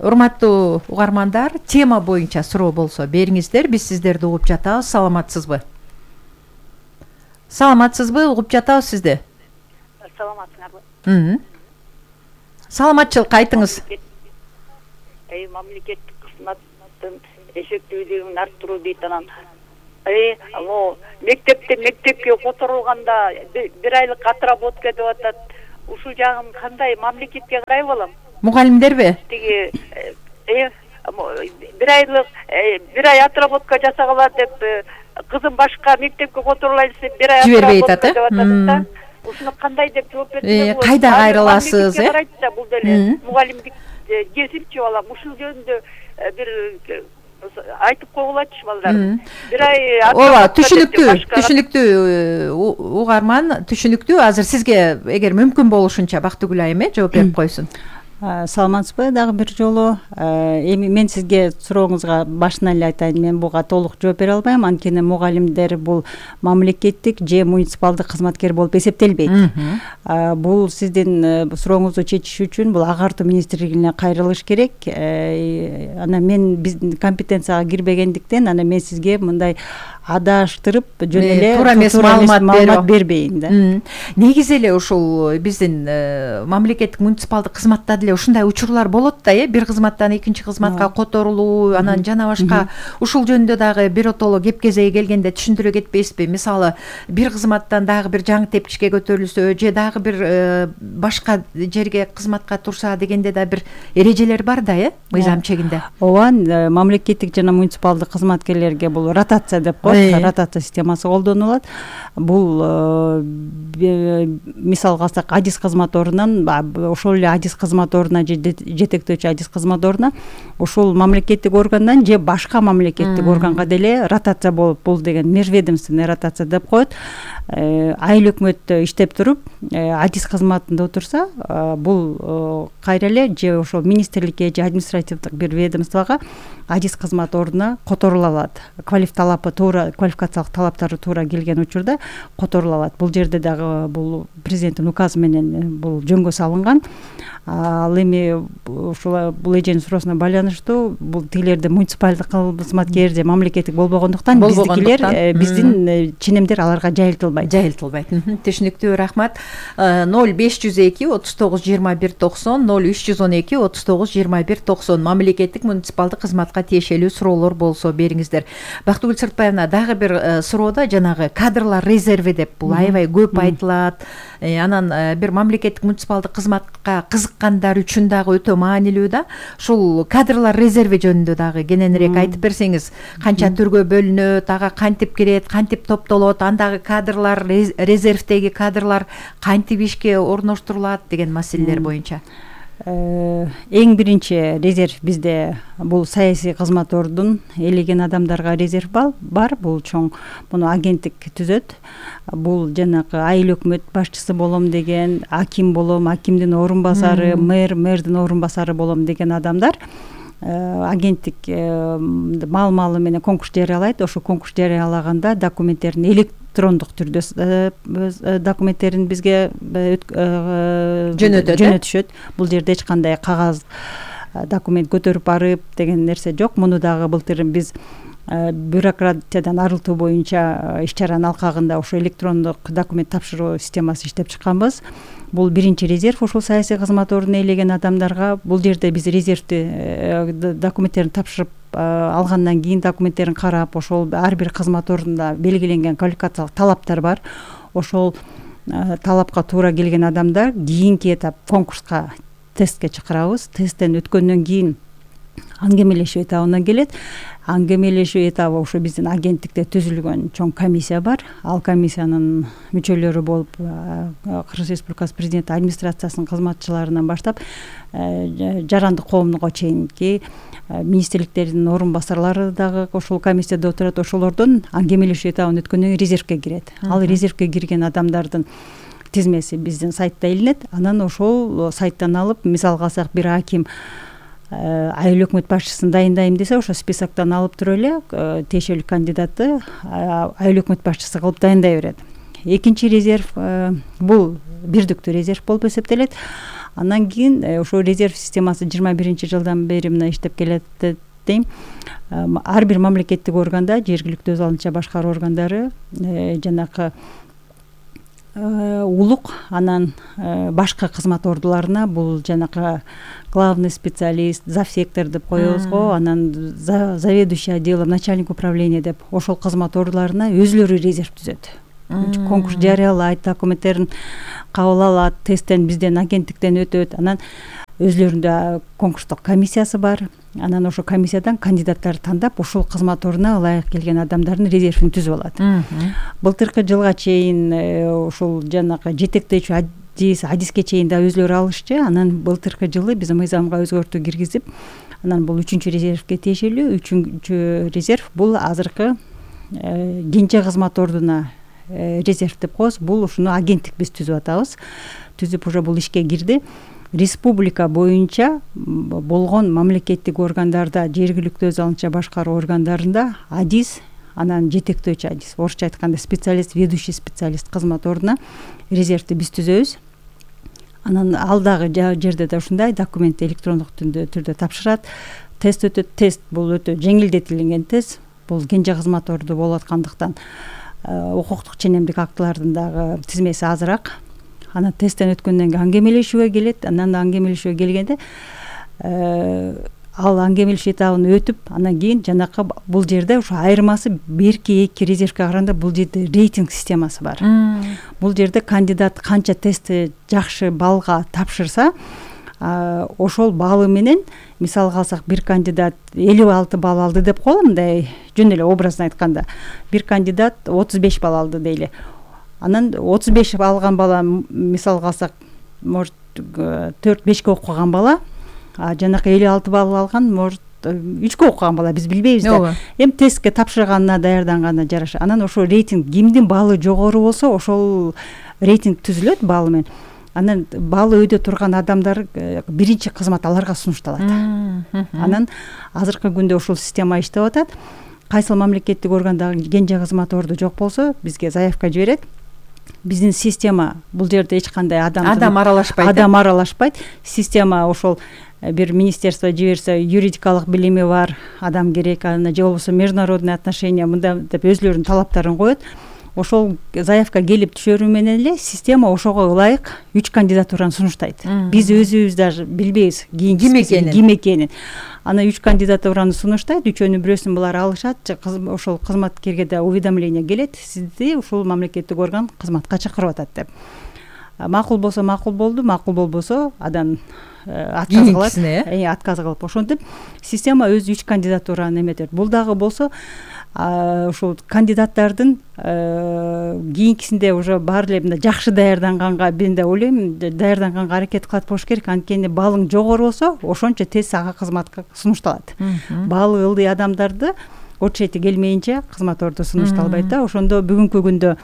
Урматтуу угармандар, тема боюнча суроо болсо бериңиздер, биз сиздерди угуп жатабыз. Саламатсызбы? Саламатсызбы? Угуп жатабыз сизди. Саламатсыңарбы? Саламатчылыкка айтыңыз. Мамлекеттик кызматтын эффективдүүлүгүн арттыруу дейт анан. Мектепке которулганда 1 айлык отработка деп атат. Ушул жагын кандай мамлекетке карай алам? Мугалимдерби? Тиги 1 ай отработка жасагалар деп кызым башка мектепке которулай десе 1 ай отработка деп атат да. Ушуну кандай деп жооп берсе болот? Кайда кайрыласыз? Карайт да бул деле. Мугалимдик кесипчи балам, ушул жөнүндө бир айтып койгулачы балдар. 1 ай ооба, түшүнүктүү угарман, түшүнүктүү. Азыр сизге эгер мүмкүн болушунча Бактыгүл айым жооп берип койсун. Саламатсызбы дагы бир жолу. Эми мен сизге сурооңузга башынан эле айтайын, мен буга толук жооп бере албайм, анткени мугалимдер бул мамлекеттик же муниципалдык кызматкер болуп эсептелбейт. Бул сиздин сурооңузду чечиш үчүн бул агартуу министрлигине кайрылыш керек. Анан мен биздин компетенцияга кирбегендиктен, анан мен сизге мындай адаштырып жөн эле туура эмес маалымат бербейин да. Негизи эле ушул биздин мамлекеттик муниципалдык кызматта деле ушундай учурлар болот да, бир кызматтан экинчи кызматка которулуу, анан жана башка. Ушул жөнүндө дагы биротоло кеп-кезеги келгенде түшүндүрө кетпейсизби? Мисалы, бир кызматтан дагы бир жаңы тепкичке көтөрүлсө, же дагы бир башка жерге кызматка турса дегенде да бир эрежелер бар да, мыйзам чегинде. Ооба, мамлекеттик жана муниципалдык кызматкерлерге бул ротация деп коет, ротация системасы колдонулат. Бул мисалга алсак, адис кызмат ордунан ошол эле адис кызмат ордуна же жетектөөчү адис кызмат ордуна ошол мамлекеттик органдан же башка мамлекеттик органга деле ротация болуп, бул деген межведомственный ротация деп коет. Айыл өкмөттө иштеп туруп, адис кызматында отурса, бул кайра эле же ошол министрликке же административдик бир ведомствого адис кызмат ордуна которула алат. Квалификациялык талаптары туура келген учурда которула алат. Бул жерде дагы бул президенттин указы менен бул жөнгө салынган. Ал эми ушул бул эженин суроосуна байланыштуу бул тигилерде муниципалдык кызматкер же мамлекеттик болбогондуктан биздикилер биздин ченемдер аларга жайылтылбайт. Түшүнүктүү, рахмат. 0502 39 21 90 0312 39 21 90 мамлекеттик муниципалдык кызматка тиешелүү суроолор болсо бериңиздер. Бактыгүл Сыртбаевна, дагы бир суроодо жанагы кадрлар резерви деп бул аябай көп айтылат. Анан бир мамлекеттик муниципалдык кызматка кызыккандар үчүн дагы өтө маанилүү да. Ушул кадрлар резерви жөнүндө дагы кененирээк айтып берсеңиз, канча түргө бөлүнөт, ага кантип кирет, кантип топтолот, андагы кадрлар, резервдеги кадрлар кантип ишке орноштурулат деген маселелер боюнча. Эң биринчи резерв бизде бул саясий кызматордун элеген адамдарга резерв бар. Бул чоң муну агенттик түзөт. Бул жанагы айыл өкмөт башчысы болом деген, аким болом, акимдин орун басары, мэрдин орун басары болом деген адамдар агенттик маал менен конкурс жарыялайт. Ошо конкурс жарыялаганда документтерин электрондук түрдө документтерин бизге жөнөтүшөт. Бул жерде эч кандай кагаз документ көтөрүп барып деген нерсе жок. Муну дагы былтыр биз бюрократиядан арылтуу боюнча иш-чаранын алкагында ошо электрондук документ тапшыруу системасы иштеп чыкканбыз. Бул биринчи резерв ушул саясий кызмат ордун ээлеген адамдарга. Бул жерде биз резервди документтерин тапшырып алгандан кийин документтерин карап, ошол ар бир кызмат ордунда белгиленген квалификациялык талаптар бар. Ошол талапка туура келген адамдар кийинки этап конкурска тестке чакырабыз. Тесттен өткөндөн кийин аңгемелешүү этабына келет. Аңгемелешүү этабы ошо биздин агенттикте түзүлгөн чоң комиссия бар. Ал комиссиянын мүчөлөрү болуп Кыргыз Республикасы президенти администрациясынын кызматчыларынан баштап жарандык коомдуга чейинки министрликтердин орун басарлары дагы ошол комиссияда отурат. Ошолордон аңгемелешүү этабын өткөндөн кийин резервке кирет. Ал резервке кирген адамдардын тизмеси биздин сайтта илинет. Анан ошол сайттан алып, мисалга алсак, бир аким айыл өкмөт башчысын дайындайм десе, ошо списоктон алып туруп эле тиешелүү кандидатты айыл өкмөт башчысы кылып дайындай берет. Экинчи резерв бул бирдиктүү резерв болуп эсептелет. Андан кийин ошо резерв системасы 21-жылдан бери мына иштеп келет дейм. Ар бир мамлекеттик органда, жергиликтүү өз алынча башкаруу органдары жанакы улук, анан башка кызмат ордуларына бул жанакы главный специалист, завсектор деп коебуз го, анан заведующий отделом, начальник управления деп ошол кызмат ордуларына өзлөрү резерв түзөт. Конкурс жарыялайт, документтерин кабыл алат, тесттен бизден агенттиктен өтөт. Анан өзлөрүндө конкурстук комиссиясы бар. Анан ошол комиссиядан кандидаттарды тандап, ошол кызмат ордуна ылайык келген адамдардын резервин түзүп алат. Былтыркы жылга чейин ошол жанагы жетектечү адиске чейин да өзлөрү алышчы. Анан былтыркы жылы биз мыйзамга өзгөртүү киргизип, анан бул 3-чү резервге тиешелүү. 3-чү резерв бул азыркы кенже кызмат ордуна резерв деп коебуз. Бул ушуну агенттик биз түзүп атабыз. Түзүп уже бул ишке кирди. Республика боюнча болгон мамлекеттик органдарда, жергиликтүү өз алынча башкаруу органдарында адис, анан жетектөөчү адис, орусча айтканда специалист, ведущий специалист кызмат ордуна резервди биз түзөбүз. Анан ал дагы жерде да ушундай документ электрондук түрдө тапшырат. Тест өтөт. Тест бул өтө жеңилдетилген тест. Бул кенже кызмат орду болуп аткандыктан укуктук ченемдик актылардын дагы тизмеси азыраак. Анан тесттен өткөндөн кийин аңгемелешүүгө келет. Анан аңгемелешүүгө келгенде ал аңгемелешүү этабын өтүп, анан кийин жанакы бул жерде ошо айырмасы берки 2 резервге караганда бул жерде рейтинг системасы бар. Бул жерде кандидат канча тестти жакшы балга тапшырса, ошол баалы менен, мисалга алсак, бир кандидат 56 балл алды деп коелу, мындай жөн эле образно айтканда. Бир кандидат 35 балл алды дейли. Анан 35 алган бала, мисалга алсак, может 4-5ке окуган бала, жанакы 56 балл алган, может 3ке окуган бала, биз билбейбиз да. Эми тестке тапшырганына, даярданганына жараша. Анан ошол рейтинг кимдин баллы жогору болсо, ошол рейтинг түзүлөт баллы менен. Анан баллы өйдө турган адамдар биринчи кызмат аларга сунушталат. Анан азыркы күндө ушул система иштеп атат. Кайсыл мамлекеттик органдагы кенже кызмат орду жок болсо, бизге заявка жиберет. биздин система бул жерде эч кандай адам аралашпайт. Адам аралашпайт. Система ошол бир министерство жиберсе юридикалык билими бар адам керек, аны же болбосо международный отношения мында деп өзлөрүнүн талаптарын коет. Ошол заявка келип түшөрү менен эле система ошого ылайык 3 кандидатураны сунуштайт. Биз өзүбүз даже билбейбиз ким экенин. Ана 3 кандидатураны сунуштайт, үчөөнүн бирөөсүн булар алышат, ошол кызматкерге да уведомление келет, сизди ушул мамлекеттик орган кызматка чакырып атат деп. Макул болсо макул болду, макул болбосо адан отказ кылып ошентип система өзү 3 кандидатураны эметет. Бул дагы болсо ушул кандидаттардын кийинкисинде уже баары эле мындай жакшы даярданганга мен да ойлойм, даярданганга аракет кылат болуш керек. Анткени баалың жогору болсо, ошончо тез ага кызматка сунушталат. Баалы ылдый адамдарды очерети келмейинче кызмат орду сунушталбайт да. Ошондо бүгүнкү күндө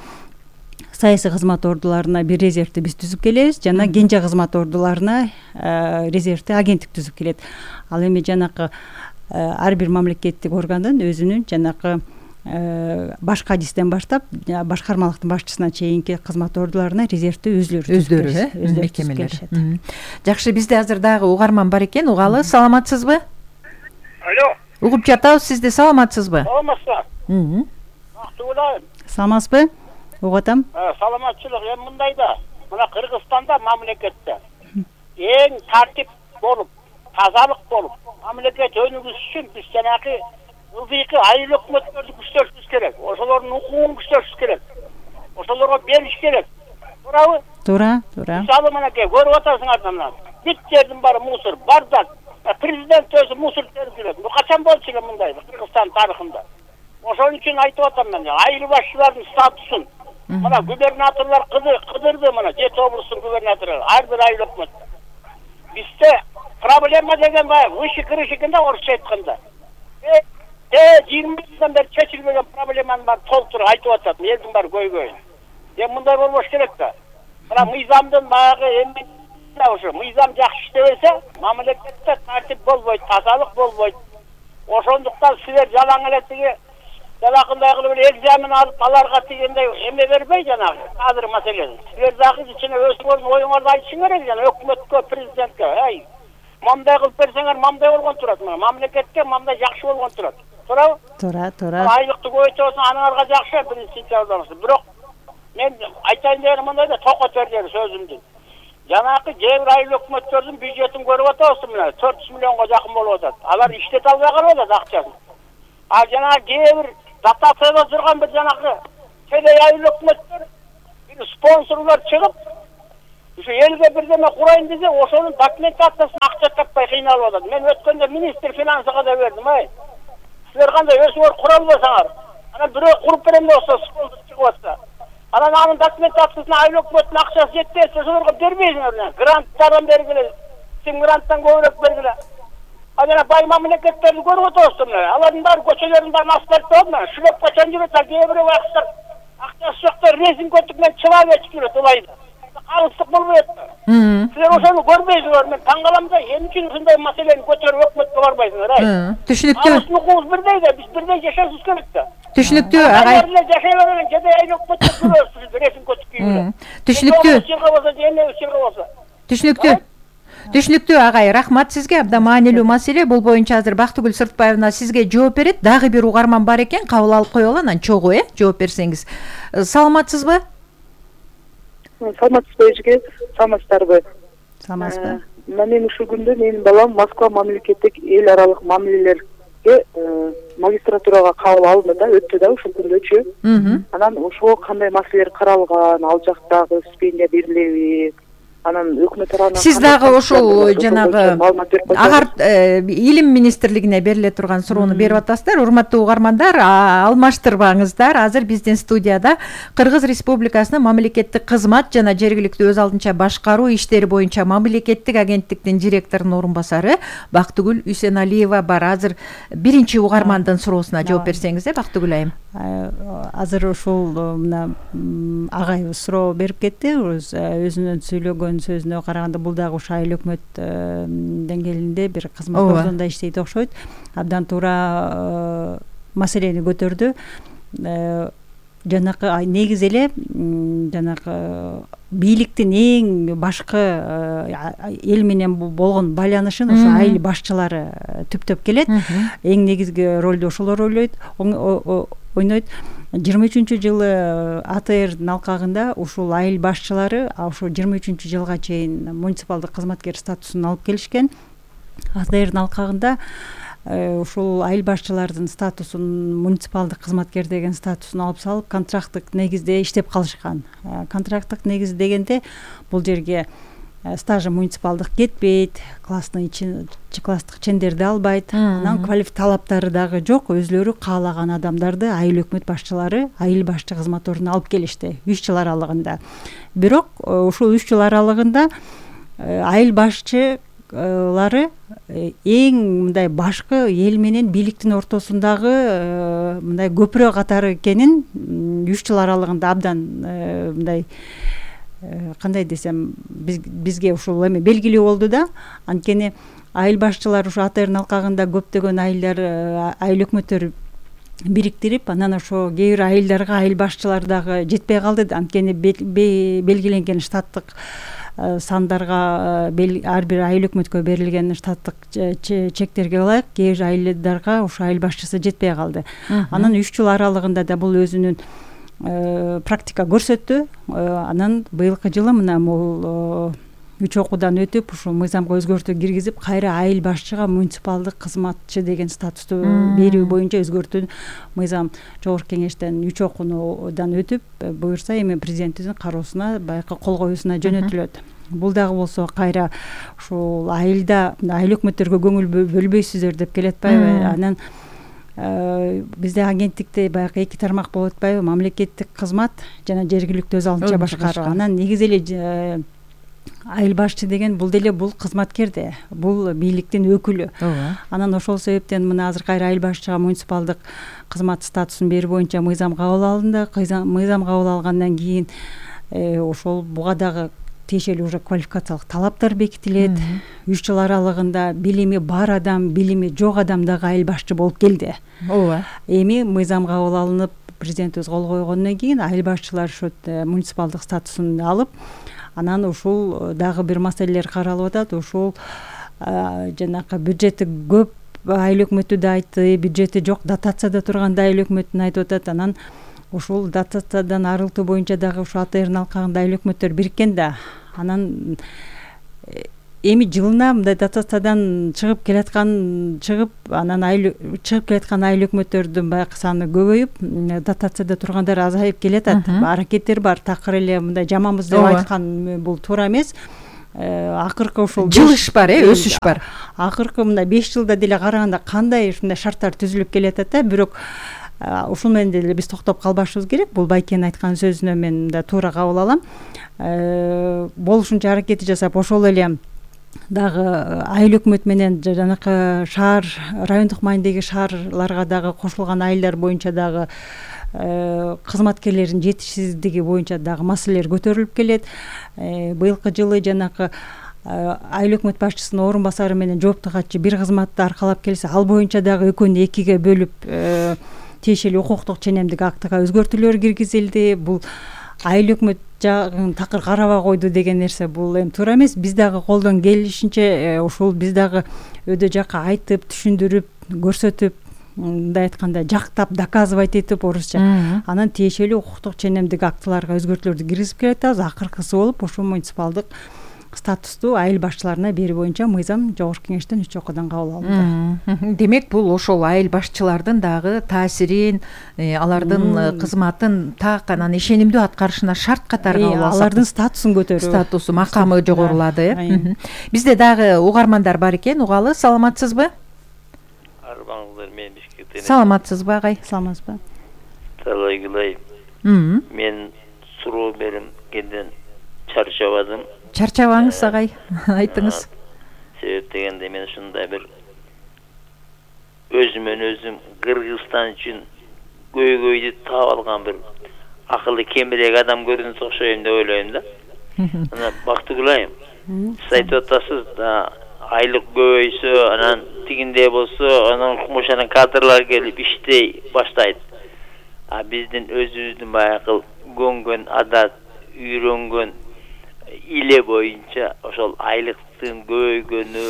саясий кызмат ордуларына бир резервти биз түзүп келебиз, жана кенже кызмат ордуларына резервти агенттик түзүп келет. Ал эми жанакы ар бир мамлекеттик органдын өзүнүн жанакы башкы адистен баштап башкармалыктын башчысына чейинки кызмат ордуларына резервти өздөрү мекемелер. Жакшы, бизде азыр дагы угарман бар экен, угалы. Саламатсызбы? Алло. Угуп жатабыз, сизди. Саламатсызбы? Саламатсызбы. Саламатсызбы? Угатам. Саламатчылык эми мындайда, мына Кыргызстанда мамлекетте эң тартип болуп, тазалык болуп, мамлекет өнүгүш үчүн биз жанагы ылдыйкы айыл өкмөттөрдү күчтөрүшүбүз керек. Ошолордун укугун күчтөрүшүбүз керек. Ошолорго бериш керек. Туурабы? Туура. Мисалы мынакей көрүп атасыңар мына. Бүт жердин баары мусор, бардак. Президент өзү мусор терип жүрөт. Бу качан болчу эле мындай Кыргызстан тарыхында? Ошон үчүн айтып атам мен, айыл башчылардын статусун мына губернаторлор кыдырды, мына Жети облустун губернатору, ар бир айыл өкмөт. Бизде проблема деген баягы выше крышикинде орусча айтканда. 20 жылдан бери чечилбеген проблеманы бар толтуруп айтып атат, элдин баары көйгөйүн. Эми мындай болбош керек да. Мына мыйзамдын баягы эми ошо мыйзам жакшы иштебесе, мамлекетте тартип болбойт, тазалык болбойт. Ошондуктан силер жалаң эле тиги жалакындай кылып эле экзамен алып аларга тигендей эме бербей жанагы азыр маселе. Силер дагы ичине өзүңөрдүн оюңарды айтышың керек жана өкмөткө, президентке. Ай, мындай кылып берсеңер мындай болгон турат, мамлекетке мындай жакшы болгон турат. Туурабы? Туура. Айлыкты көбөйтөсүң, аныңарга жакшы, биринчи жардамчы. Бирок мен айтайын дегеним мындай да, токот бердер сөзүмдү. Жанакы кээ бир айыл өкмөттөрдүн бюджетин көрүп атабыз, мына 400 миллионго жакын болуп атат. Алар иштете албай калып атат акчасын. А жанагы кээ бир дотацияда турган бир жанакы телей айыл өкмөттөр бир спонсорлор чыгып, ушу элге бирдеме курайын десе, ошонун документациясын акча таппай кыйналып атат. Мен өткөндө министр финансыга да бердим, ай. Силер кандай өзүңөр кура албасаңар, анан бирөө куруп берем болсо, спонсор чыгып атса, анан анын документациясына айыл өкмөттүн акчасы жетпесе, ошолорго бербейсиңер. Гранттардан бергиле, сен гранттан көбүрөөк бергиле. А жана бай мамлекеттерди көрүп атабыз, алардын баары көчөлөрдүн баарын асфальттап, шүлөп качан жүрөт, кээ бирөө акчасы жоктор резинка өтүп менен чылап өтүп жүрөт ылайда. Калыстык болбойт. Силер ошону көрбөйсүңөр, мен таң калам да, эмне үчүн ушундай маселени көтөрүп өкмөткө барбайсыңар, ай? Түшүнүктүү. Алардын укугубуз бирдей да, биз бирдей жашашыбыз керек да. Түшүнүктүү, агай. Алар жашай берген жеде айыл өкмөткө көрөсүз, резинка өтүп кийип. Түшүнүктүү. Түшүнүктүү агай, рахмат сизге. Абдан маанилүү маселе. Бул боюнча азыр Бактыгүл Сыртбаевна сизге жооп берет. Дагы бир угарман бар экен, кабыл алып коелу, анан чогуу жооп берсеңиз. Саламатсызбы? Саламатсызбы эжеке, саламатсыздарбы? Саламатсызбы. Мен ушул күндө менин балам Москва мамлекеттик эл аралык мамилелерге магистратурага кабыл алынды да, өттү да ушул күндөчү. Анан ошого кандай маселелер каралган, ал жактагы стипендия берилеби? Анан өкмөт тарабынан сиз дагы ошол жанагы илим министрлигине бериле турган суроону берип атасыздар. Урматтуу угармандар, алмаштырбаңыздар. Азыр биздин студияда Кыргыз Республикасынын мамлекеттик кызмат жана жергиликтүү өз алдынча башкаруу иштери боюнча мамлекеттик агенттиктин директорунун орун басары Бактыгүл Үсеналиева бар. Азыр биринчи угармандын суроосуна жооп берсеңиз, Бактыгүл айым. Азыр ушул мына агайыбыз суроо берип кетти, өзүнүн сүйлөгөн сөзүнө караганда бул дагы ушу айыл өкмөт деңгээлинде бир кызмат ордунда иштейт окшойт. Абдан туура маселени көтөрдү. жанакы негизи эле жанакы бийликтин эң башкы эл менен болгон байланышын ошо айыл башчылары түптөп келет. Эң негизги ролду ошолор ойнойт. 23-жылы АТРдин алкагында ушул айыл башчылары ошо 23-жылга чейин муниципалдык кызматкер статусун алып келишкен. АТРдин алкагында ушул айыл башчылардын статусун муниципалдык кызматкер деген статусун алып салып контракттык негизде иштеп калышкан. Контракттык негиз дегенде бул жерге стажы муниципалдык кетпейт, класстык чендерди албайт, анан талаптары дагы жок, өзлөрү каалаган адамдарды айыл өкмөт башчылары айыл башчы кызмат ордуна алып келишти 3 жыл аралыгында. Бирок ушул 3 жыл аралыгында айыл башчылары эң мындай башкы эл менен бийликтин ортосундагы мындай көпүрө катары экенин 3 жыл аралыгында абдан мындай кандай десем бизге ушул эме белгилүү болду да. Анткени айыл башчылар ушу АТРдин алкагында көптөгөн айыл өкмөттөр бириктирип, анан ошо кээ бир айылдарга айыл башчылар дагы жетпей калды. Анткени белгиленген штаттык сандарга ар бир айыл өкмөткө берилген штаттык чектерге ылайык кээ бир айылдарга ошо айыл башчысы жетпей калды. Анан 3 жыл аралыгында да бул өзүнүн практика көрсөттү. Анан быйылкы жылы мына бул 3 окуудан өтүп ушу мыйзамга өзгөртүү киргизип, кайра айыл башчыга муниципалдык кызматчы деген статусту берүү боюнча өзгөртүү мыйзам жогорку кеңештен 3 окуудан өтүп, буюрса эми президенттин кароосуна, баягы кол коюусуна жөнөтүлөт. Бул дагы болсо кайра ушул айылда айыл өкмөттөргө көңүл бөлбөйсүздөр деп келет атпайбы? Анан бизде агенттикте баягы 2 тармак болот атпайбы? Мамлекеттик кызмат жана жергиликтүү өз алдынча башкаруу. Анан негизи эле айыл башчы деген бул деле бул кызматкер да, бул бийликтин өкүлү. Анан ошол себептен мына азыр кайра айыл башчыга муниципалдык кызмат статусун берүү боюнча мыйзам кабыл алынды. Мыйзам кабыл алгандан кийин ошол буга дагы тиешелүү уже квалификациялык талаптар бекитилет. 3 жыл аралыгында билими бар адам, билими жок адам дагы айыл башчы болуп келди. Эми мыйзам кабыл алынып, президентибиз кол койгондон кийин айыл башчылар ушу муниципалдык статусун алып, анан ушул дагы бир маселелер каралып атат. Ушул жанакы бюджети көп айыл өкмөтү да айтты, бюджети жок дотацияда турган да айыл өкмөтүн айтып атат. Анан ушул дотациядан арылтуу боюнча дагы ушу АТРдин алкагында айыл өкмөттөр бириккен да. Анан эми жылына мындай дотациядан чыгып анан чыгып келаткан айыл өкмөттөрдүн баягы саны көбөйүп, дотацияда тургандар азайып келатат. Аракеттер бар, такыр эле мындай жаманбыз деп айткан бул туура эмес. Акыркы ушул жылыш бар, өсүш бар. Акыркы мындай 5 жылда деле караганда кандай ушундай шарттар түзүлүп келатат да, бирок ушул менен деле биз токтоп калбашыбыз керек. Бул байкенин айткан сөзүнө мен да туура кабыл алам. Болушунча аракети жасап, ошол эле дагы айыл өкмөт менен жанакы шаар, райондук маанидеги шаарларга дагы кошулган айылдар боюнча дагы кызматкерлердин жетишсиздиги боюнча дагы маселелер көтөрүлүп келет. Быйылкы жылы жанакы айыл өкмөт башчысынын орун басары менен жоопту катчы бир кызматты аркалап келсе, ал боюнча дагы экөөнү 2ге бөлүп тиешелүү укуктук ченемдик актыга өзгөртүүлөр киргизилди. Бул айыл өкмөт жагын такыр карабай койду деген нерсе бул эми туура эмес. Биз дагы колдон келишинче ушул биз дагы өйдө жакка айтып, түшүндүрүп, көрсөтүп, мындай айтканда жактап, доказывать этип орусча. Анан тиешелүү укуктук ченемдик актыларга өзгөртүүлөрдү киргизип келатабыз. Акыркысы болуп ушул муниципалдык статусту айыл башчыларына берүү боюнча мыйзам жогорку кеңештен 3 окуудан кабыл алынды. Демек бул ошол айыл башчылардын дагы таасирин, алардын кызматын так анан ишенимдүү аткарышына шарт катары кабыл алсак, алардын статусун көтөрүү, статусу, макамы жогорулады. Бизде дагы угармандар бар экен, угалы. Саламатсызбы? Арбаңыздар, мен Бишкектен. Саламатсызбы агай? Саламатсызбы? Талайгылай. Мен суроо бергенден чарчабадым. Чарчабаңыз агай, айтыңыз. Себеп дегенде мен ушундай бир өзүмөн өзүм Кыргызстан үчүн көйгөйдү таап алган бир акылы кемирээк адам көрүнүп окшойм деп ойлойм да. Анан Бактыгүл айым, сиз айтып атасыз да, айлык көбөйсө, анан тигиндей болсо, анан ошонун кадрлар келип иштей баштайт. биздин өзүбүздүн баягы көнгөн адат, үйрөнгөн иле боюнча ошол айлыктын көбөйгөнү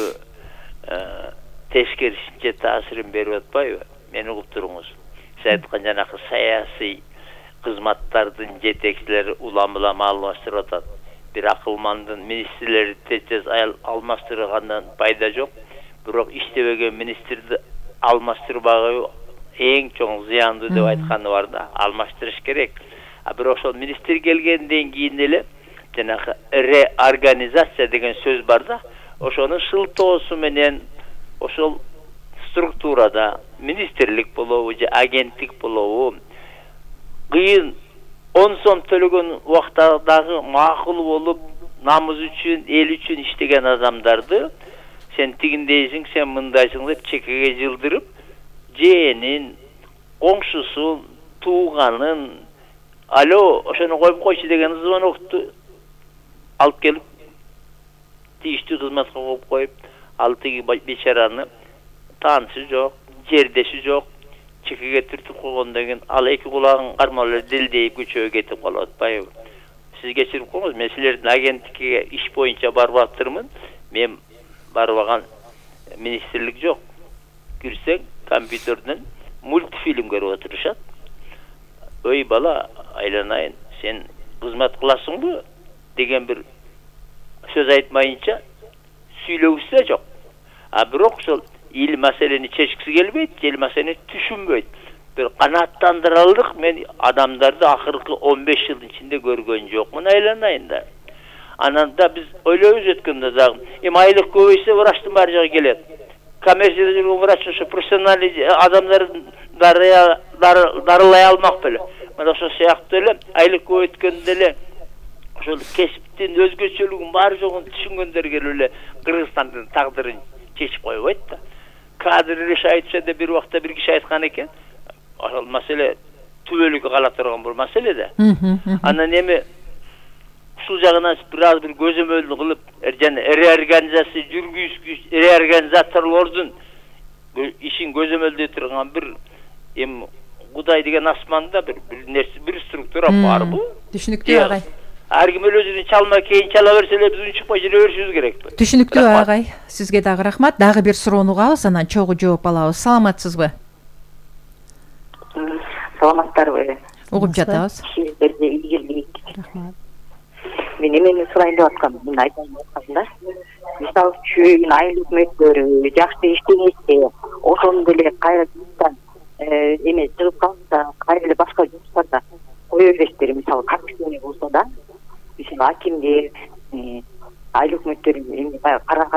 тескерисинче таасирин берип атпайбы? Мени угуп туруңуз. Сиз айткан жанакы саясий кызматтардын жетекчилери улам-улам алмаштырып атат. Бир акылмандын министрлери тез алмаштыргандан пайда жок. Бирок иштебеген министрди алмаштырбагы эң чоң зыяндуу деп айтканы бар да, алмаштырыш керек. Бирок ошол министр келгенден кийин эле жанагы реорганизация деген сөз бар да, ошонун шылтоосу менен ошол структурада министрлик болобу же агенттик болобу кыйын 10 сом төлөгөн убактадагы макул болуп намыз үчүн, эл үчүн иштеген адамдарды сен тигиндейсиң, сен мындайсың деп чекеге жылдырып, жээнин, коңшусун, тууганын, алло, ошону коюп койчу деген звонокту алып келип тийиштүү кызматка коюп коюп, ал тиги бечараны таанышы жок, жердеши жок, чекеге түртүп койгондон кийин ал эки кулагын кармап эле делдейип көчөгө кетип калып атпайбы? Сиз кечирип коюңуз, мен силердин агенттикке иш боюнча барып атырмын. Мен барбаган министрлик жок. Кирсең, компьютерден мультфильм көрүп отурушат. Ой бала, айланайын, сен кызмат кыласыңбы деген бир сөз айтмайынча сүйлөгүсү да жок. Бирок ошол ил маселени чечкиси келбейт, эл маселени түшүнбөйт. Бир канааттандырарлык мен адамдарды акыркы 15 жылдын ичинде көргөн жокмун, айланайын да. Анан да биз ойлойбуз өткөндө дагы, айлык көбөйсө врачтын баары жагы келет. Коммерцияда жүргөн врач ошо профессионалдуу адамдарды дарылай алмак беле. Мына ошол сыяктуу эле айлык көбөйткөндө эле ошол кесиптин өзгөчөлүгүн баары жогун түшүнгөндөргө эле Кыргызстандын тагдырын чечип койбойт да. Кадр решает деп бир убакта бир киши айткан экен. Ошол маселе түбөлүккө кала турган бул маселе да. Анан эми ушул жагынан бир көзөмөлдү кылып, жана реорганизация жүргүзгүч, реорганизаторлордун ишин көзөмөлдөй турган бир эми Кудай деген асманда бир нерсе, бир структура барбы? Түшүнүктүү агай. Ар ким өзүнүн чалма кейін чала берсе эле биз чыкпай жүрө беришибиз керекпи? Түшүнүктүү агай. Сизге дагы рахмат. Дагы бир суроону угабыз, анан чогуу жооп алабыз. Саламатсызбы? Саламаттарбы? Угуп жатабыз. Сиздерге ийгилик. Рахмат. Мен эмени сурайын деп аткам, мен айтайын деп аткам да. Мисалы үчүн айыл өкмөттөрү жакшы иштемесе, ошондо эле кайра эме чыгып калса, кайра эле башка жумуштарда кое бересиздер. Мисалы капитаны болсо да, мисалы акимдер, айыл өкмөттөр эми баягы карга